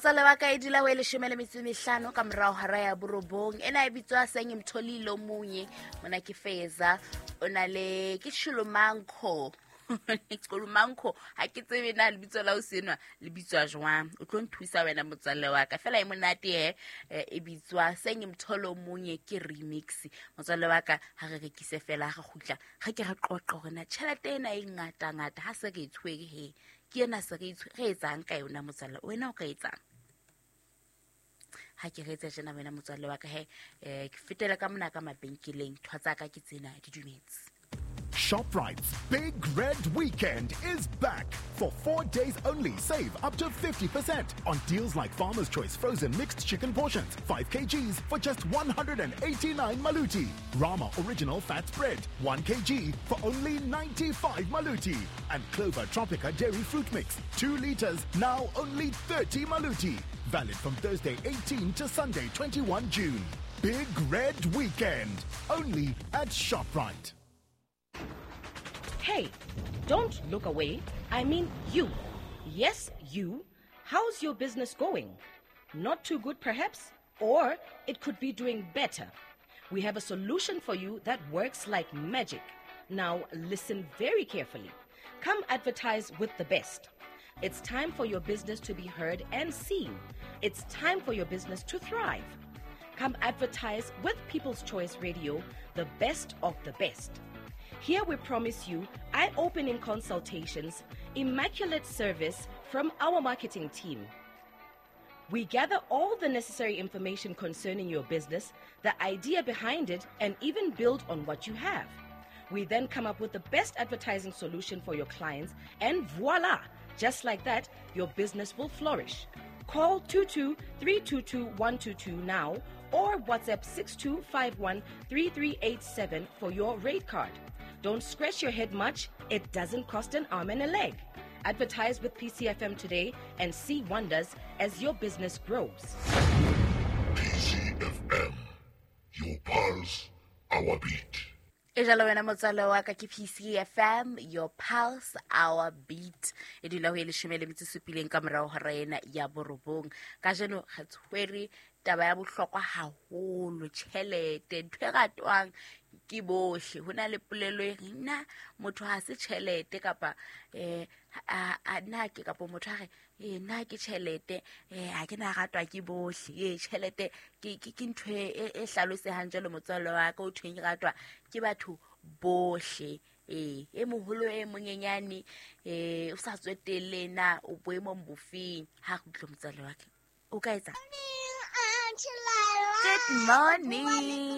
Motswalle wa ka, e dula ho e 15 ka morao hara ya 9. Ena e bitswa Sengimtholile omunye. Mona ke Feza, o na le ke Chulumanco. Chulumanco, ha ke tsebe na lebitso la o senwa le bitswa jwang. O tlo nthusa wena motswalle wa ka. Fela e monate e bitswa Sengimtholo omunye, ke remix. Motswalle wa ka, ha re rekise fela, ha re kgutla, re ke re qoqe hore na tjhelete ena e ngata ngata ha se re e tshwere he. Ke ena se re re etsang ka yona motswalle, wena o ka etsang? Ha ke re etsa tjena wena motswalle wa ka he, ke fetela ka mona ka mabenkeleng, ntho tsa ka ke tsena di dumetse. ShopRite's Big Red Weekend is back. For 4 days only, save up to 50% on deals like Farmer's Choice frozen mixed chicken portions, 5 kgs for just 189 maluti. Rama Original Fat Spread, 1 kg for only 95 maluti. And Clover Tropica Dairy Fruit Mix, 2 liters, now only 30 maluti. Valid from Thursday 18 to Sunday 21 June. Big Red Weekend, only at ShopRite. Hey, don't look away. I mean you. Yes, you. How's your business going? Not too good, perhaps? Or it could be doing better. We have a solution for you that works like magic. Now, listen very carefully. Come advertise with the best. It's time for your business to be heard and seen. It's time for your business to thrive. Come advertise with People's Choice Radio, the best of the best. Here we promise you eye-opening consultations, immaculate service from our marketing team. We gather all the necessary information concerning your business, the idea behind it, and even build on what you have. We then come up with the best advertising solution for your clients, and voila! Just like that, your business will flourish. Call 22-322-122 now or WhatsApp 6251-3387 for your rate card. Don't scratch your head much. It doesn't cost an arm and a leg. Advertise with PCFM today and see wonders as your business grows. PCFM, your pulse, our beat. E jalo wena motswalle wa ka, ke PCFM, your pulse, our beat. E dula ho e 17 ka morao hora ena ya 9. Kajeno re tshwere taba ya bohlokwa haholo, tjhelete, ntho e ratwang ke bohle. Ho na le polelo e reng na motho ha se tjhelete kapa a na ke kapa motho a re nna ke tjhelete, ha ke na ratwa ke bohle. Tjhelete ke ntho e hlalosehang jwalo motswalle wa ka, o thweng e ratwa ke batho bohle. E moholo e monyenyane, o sa tswetelle na o boemong bofeng. Ha re utlwe motswalle wa ka, o ka etsa. Good morning.